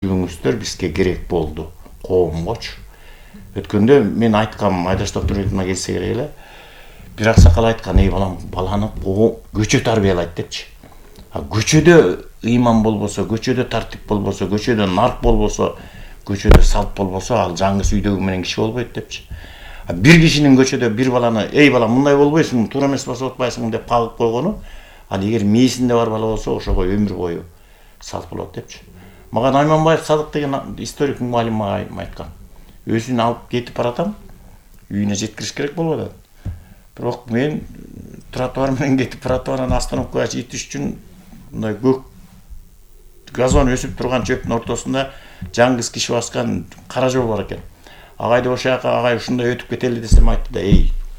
Бүгүңүздөр бизге керек болду, коомгочу. Өткөндө мен айткам, Айдаш Токтурбековна келсе керек эле. Бир аксакал айткан, балам, баланы көчө тарбиялайт депчи. Көчөдө ыйман болбосо, көчөдө тартип болбосо, көчөдө нарк болбосо, көчөдө салт болбосо, ал жаңгыс үйдөгү менен киши болбойт депчи. Бир кишинин көчөдө бир баланы, балам, мындай болбойсуң, туура эмес басып атпайсың деп кагып койгону, ал эгер мээсинде бар бала болсо, ошого өмүр бою салт болот депчи. Мага Найманбаев Садык деген историк мугалим мага айткан. Өзүн алып кетип баратам, үйүнө жеткириш керек болуп атат. Бирок мен тротуар менен кетип баратып, анан остановкага жетиш үчүн мындай көк газон өсүп турган чөптүн ортосунда жаңгыз киши баскан кара жол бар экен. Агайды ошол жака, агай ушундай өтүп кетели десем, айтты да,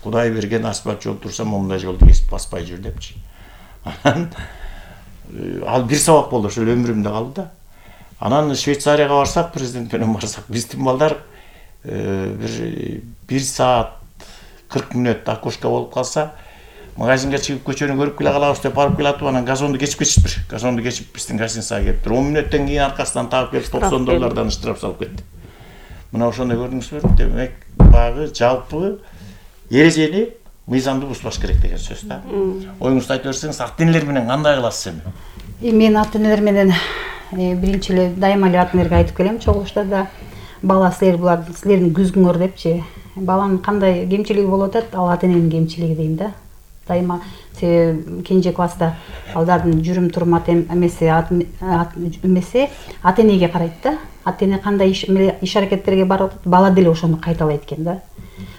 Кудай берген асфальт жол турса, момундай жолду кесип баспай жүр депчи. Ал бир сабак болду, ошол өмүрүмдө калды да. Анан Швейцарияга барсак, президент менен барсак, биздин балдар бир саат 40 мүнөт окошко болуп калса, магазинге чыгып көчөнү көрүп келе калабыз деп барып келатып, анан газонду кечип кетиштир. Газонду кечип биздин гостиницага келиптир. 10 мүнөттөн кийин аркасынан таап келип $90 штраф салып кетти. Мына ошондой көрдүңүзбү? Демек, багы жалпы эрежени мыйзамды бузбаш керек деген сөз да. Оюңузду айтып берсеңиз, ата-энелер менен кандай кыласыз эми? Мен ата-энелер менен биринчи эле дайыма эле ата-энелерге айтып келем, чогулуштарда бала силердин күзгүңөр депчи. Баланын кандай кемчилиги болуп атат, ал ата-эненин кемчилиги дейм да. Дайыма кенже класста балдардын жүрүм турум эмеси ата-энеге карайт да. Ата-эне кандай иш аракеттерге барып атат, бала деле ошону кайталайт экен да.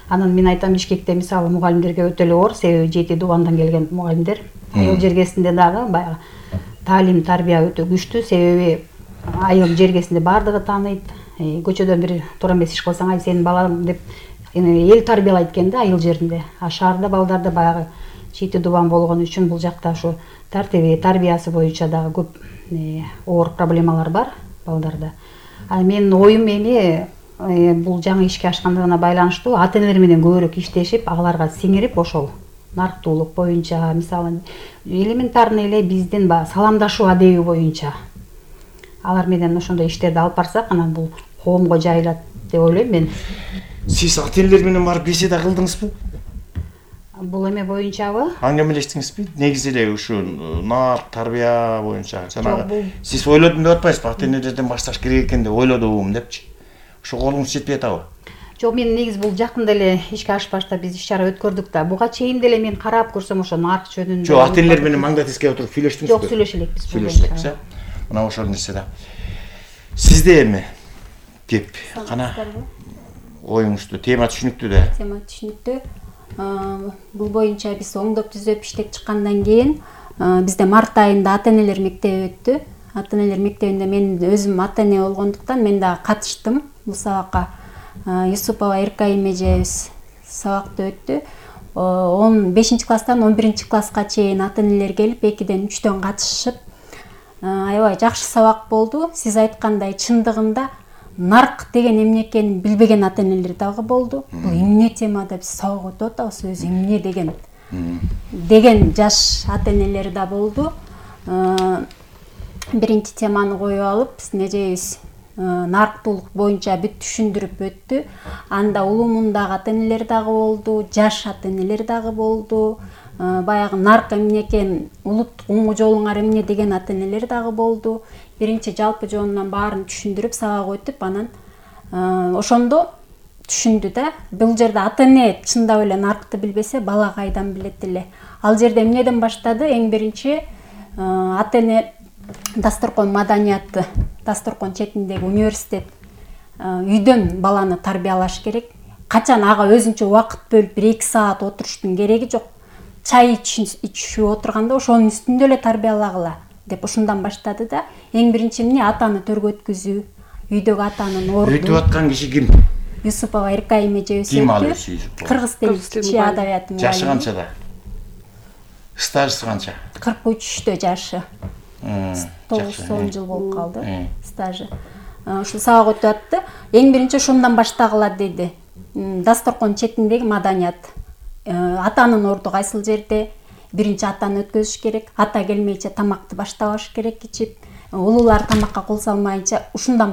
Анан мен айтам, Бишкекте мисалы мугалимдерге өтө эле оор, себеби Жети Дубандан келген мугалимдер. Айыл жергесинде дагы баягы таалим, тарбия өтө күчтүү, себеби айыл жергесинде бардыгы тааныйт. Көчөдөн бир туура эмес иш кылсаң, сенин балаң деп эл тарбиялайт экен да айыл жеринде. Шаарда балдарда баягы Жети Дубан болгон үчүн бул жакта ушу тартиби, тарбиясы боюнча дагы көп оор проблемалар бар балдарда. Менин оюм эми бул жаңы ишке ашкандыгына байланыштуу ата-энелер менен көбүрөөк иштешип, аларга сиңирип, ошол нарктуулук боюнча, мисалы элементарный эле биздин саламдашуу адеби боюнча алар менен ошондой иштерди алып барсак, анан бул коомго жайылат деп ойлойм мен. Сиз ата-энелер менен барып беседа кылдыңызбы? Бул эме боюнчабы? Аңгемелештиңизби? Негизи эле ушу нарк, тарбия боюнча. Сиз ойлодум деп атпайсызбы? Ата-энелерден башташ керек экен деп ойлодум депчи. Ошо колуңуз жетпей атабы? Жок, мен негизи бул жакында эле ишке ашпашта биз иш-чара өткөрдүк да. Буга чейин деле мен карап көрсөм ошо нарк жөнүндө. Жок, ата-энелер менен маңда тискей отуруп сүйлөштүңүзбү? Жок, сүйлөшө элекпиз. Сүйлөшө элекпиз, Мына ошол нерсе да. Сизде эми кеп кана оюңузду, тема түшүнүктүү да. Тема түшүнүктүү. Бул боюнча биз оңдоп түзөп иштеп чыккандан кийин бизде март айында ата-энелер мектеби өттү. Ата-энелер мектебинде мен өзүм ата-эне болгондуктан мен дагы катыштым бул сабакка. Юсупова Эркайым эжебиз сабакты өттү. 15 класстан 11 класска чейин ата-энелер келип 2-ден 3-төн катышып, аябай жакшы сабак болду. Сиз айткандай, чындыгында нарк деген эмне экенин билбеген ата-энелер дагы болду. Бул эмне темада биз сабак өтүп атабыз, өзү эмне деген жаш ата-энелер да болду. Биринчи теманы коюп алып, биздин эжебиз нарктуулук боюнча бүт түшүндүрүп өттү. Анда улумундагы ата-энелер дагы болду, жаш ата-энелер дагы болду. Баягы нарк эмне экен, улуттук оңу жолуңар эмне деген ата-энелер дагы болду. Биринчи жалпы жонунан баарын түшүндүрүп, сабак өтүп, анан ошондо түшүндү да. Бул жерде ата-эне чындап эле наркты билбесе, бала кайдан билет эле. Ал жерде эмнеден баштады? Эң биринчи ата-эне дасторкон маданияты, дасторкон четиндеги университет үйдөн баланы тарбиялаш керек. Качан ага өзүнчө убакыт бөлүп 1-2 саат отуруштун кереги жок. Чай ичип отурганда ошонун үстүндө эле тарбиялагыла деп ошондон баштады да. Эң биринчи эмне? Атаны төргөткүзүү, үйдөгү атанын орду. Өтүп аткан киши ким? Юсупова Эркайым эжебиз. Ким ал өзү? Кыргыз тили адабияты мугалими. Жашы канчада? Стажы канча? 43-тө жашы. 9 жыл болуп калды стажы. Ушул сабак өтүп атты. Эң биринчи ошондон баштагыла деди. Дасторкон четиндеги маданият. Атанын орду кайсыл жерде? Биринчи атаны өткөзүш керек. Ата келмейче тамакты баштабаш керек ичип. улуулар тамакка кол салмайынча ушундан